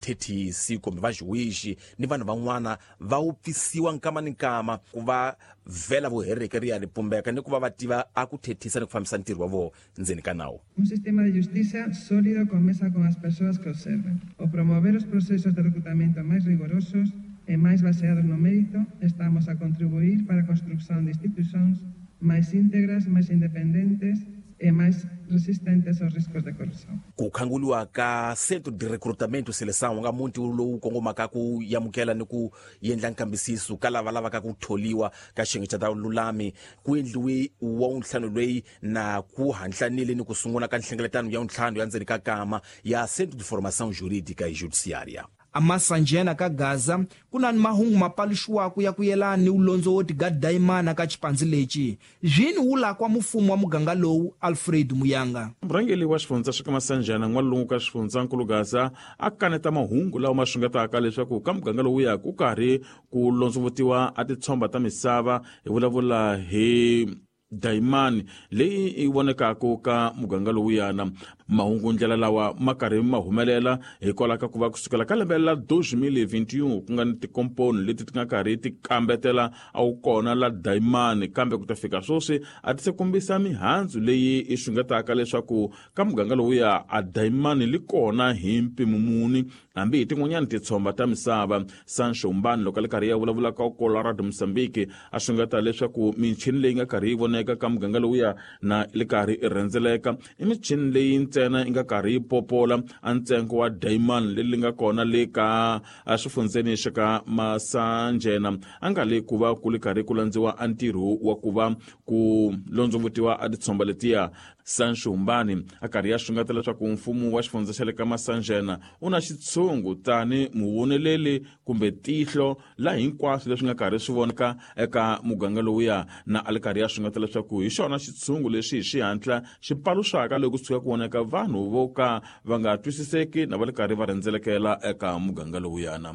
Vathethisi kumbe vajuwixi ni vanhu van'wana va wupfisiwa nkama ni nkama ku va vhela vuhereke ri ya ri pumbeka ni ku va va tiva a ku thethisa ni ku fambisa ntirho wa vona ndzeni ka nawu. Un sistema de justiza sólido con mesa con as persoas que observan. O promover os procesos de recrutamento máis rigorosos e máis baseados no mérito, estamos a contribuir para a construcción de institucións máis íntegras, máis independentes e máis resistentes aos riscos de corrupción. Ku khanguliwa ka Centro de Recrutamento e Seleção nga muti lowu kongomaka ku yamukela ni ku yendla nkambisiso ka lava lavaka ku tholiwa ka xiyenge xa ta vululami ku endliwe wa wuntlhanu loyi na ku hantlanile ni ku sungula ka nhlengeletano ya wuntlhanu ya ndzeni ka kama ya Centro de Formação Jurídica e Judiciária. Amasanjena ka Gaza ku na ni mahungu ma paluxiwaka ya ku yelana ni ulondzo wo tigadayimana ka xipandzi lexi zwini wu lakwa mufumo wa muganga lowu Alfred Muyanga. Murhangeri wa xifundza xa ka Masanjana n'walungu ka xifundzankulu Gaza a kaneta mahungu lawa ma xungetaka leswaku ka muganga lowu ya ku karhi ku londzovutiwa a titshomba ta misava hi vulavula hi dayimani leyi yi vonekaka ka muganga lowuyana. Mahungu ndlela lawa ma karhi ma humelela hikwalaho ka ku va kusukela ka lembe la 2021 ku nga ni tikomponi leti ti nga karhi ti kambetela a wu kona la dayimani, kambe ku ta fika sweswi a ti se kombisa mihandzu leyi yi xungetaka leswaku ka muganga lowuya a dayimani li kona hi mpimo muni hambi hi tin'wanyani titshomba ta misava. Sancho Mbani loko a li karhi ya vulavula ka Colorado Mozambique a xungeta leswaku michini leyi nga karhi yi voneka ka muganga lowuya na li karhi i rhendzeleka i michini leyi ntsena yi nga karhi yi popola a ntsengo wa dayimani leri nga kona le ka swifundzeni xa ka Masanjena a nga le ku va ku li karhi ku landziwa a ntirho wa ku va ku londzovutiwa a titshomba letiya. Sancho Mbani a karhi ya xungeta leswaku mfumo wa xifundza xa le ka Masanjena u na xitshungu tani muvoneleli kumbe tihlo la hinkwaswo leswi nga karhi swi vonaka eka muganga lowuya, na a li karhi ya xungeta leswaku hi xona xitshungu lexi hi xihatla xi paluxaka loko kusuka ku voneka vanhu vo ka va nga twisiseki na va li karhi va rhendzelekela eka muganga lowuyana.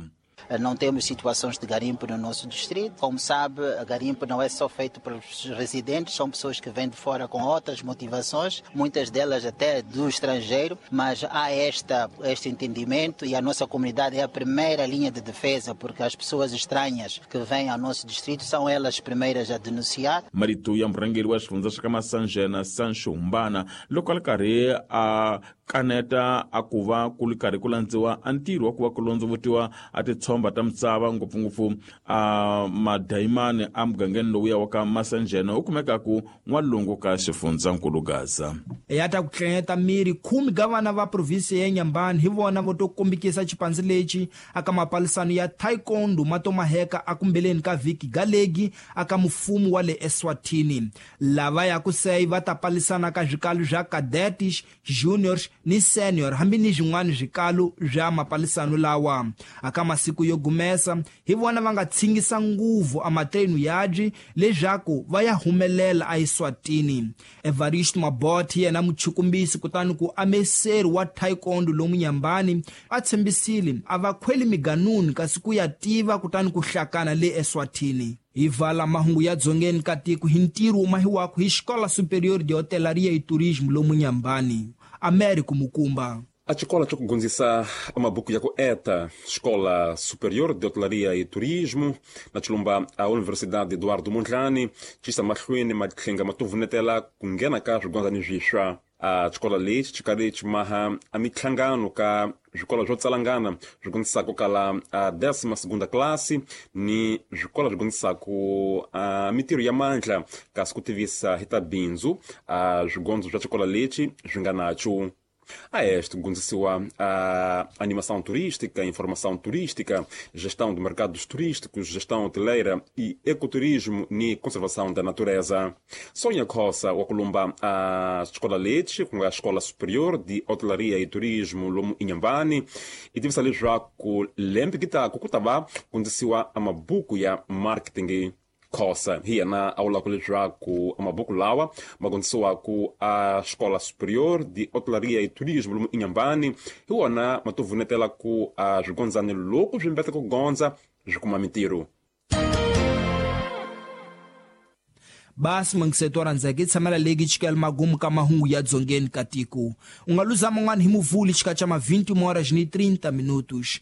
Não temos situações de garimpo no nosso distrito. Como sabe, garimpo não é só feito pelos residentes, são pessoas que vêm de fora com outras motivações, muitas delas até do estrangeiro, mas há este entendimento e a nossa comunidade é a primeira linha de defesa, porque as pessoas estranhas que vêm ao nosso distrito são elas primeiras a denunciar. Marito ya murhangeri wa xifundza xa ka Masanjena Sancho Mbana loko a li karhi a kaneta a ku va ku li karhi ku landziwa a ntirho wa ku va ku londzovutiwa a titshomba ta misava ngopfungopfu a madayimani a mugangeni lowuya wa ka Masanjena u kumekaku n'walungu ka xifundzankulu Gaza. Ya ta ku tlanyeta miri 10 ka vana va provinsi ya Nyambani hi vona vo to kombikisa xipandzi lexi aka mapalisano ya taekwondo ma to maheka akumbeleni ka vhiki galegi aka mufumo wa le Eswatini. Lava ya ku sei va ta palisana ka swikalu swa cadets, juniors ni senior hambi ni swin'wana swikalu swa mapalisano lawa. Aka masiku yo gumesa hi vona va nga tshingisa nguvu a matrenu yabyi leswaku va ya humelela a Eswatini. Evarist Mabot yena muchukumbisi kutani ku ameseri wa taekwondo lomu Nyambani a tshembisile a va khweli miganuni kasi ku ya tiva kutani ku hlakana le Eswatini. Hi vala mahungu ya dzongeni ka tiko hi ntirho wu mahiwaka hi Escola Superior de Hotelaria e Turismo lomu Nyambani. Américo Mukumba. A xikola xa ku gonzisa amabuku ya ku eta, Escola Superior de Hotelaria e Turismo, na xilumba a Universidade Eduardo Mondlane, xisa mahlweni matlhenga ma tuvunetela ku nghena ka swigondzani swiswa. A xikola lexi xi karhi xi maha a mihlangano ka swikolo swo tsalangana swi gondzisaka kala a 12ª classe ni swikolo swi gondzisaka a mitirho ya mandla kasi ku tivisa hi ta bindzu a swigondzo swa xikola lexi swi nga nacho. A este gondzisiwa a animação turística, informação turística, gestão de mercados turísticos, gestão hoteleira e ecoturismo e conservação da natureza. Sonha Khosa wa kulumba a Escola Leite, com a Escola Superior de Hotelaria e Turismo lomu Inhambane, e tivisa leswaku lembe kitaku ku ta va gondzisiwa a mabuku ya marketing. Khosa hi yena a vulaka leswaku amabuku lawa ma gondzisiwaku a Escola Superior de Hotelaria e Turismo lomu Inhambane hi wona ma to vunetela ku a swigondzani loko swi mbeta ku gondza swi kuma mitirho. Basi mangiseto rhandzeke i tshamela legi chikela magumu ka mahungu ya dzongeni ka tiko. U nga luza man'wana hi muvuli xikatsa ma 20 horas ni 30 minutos.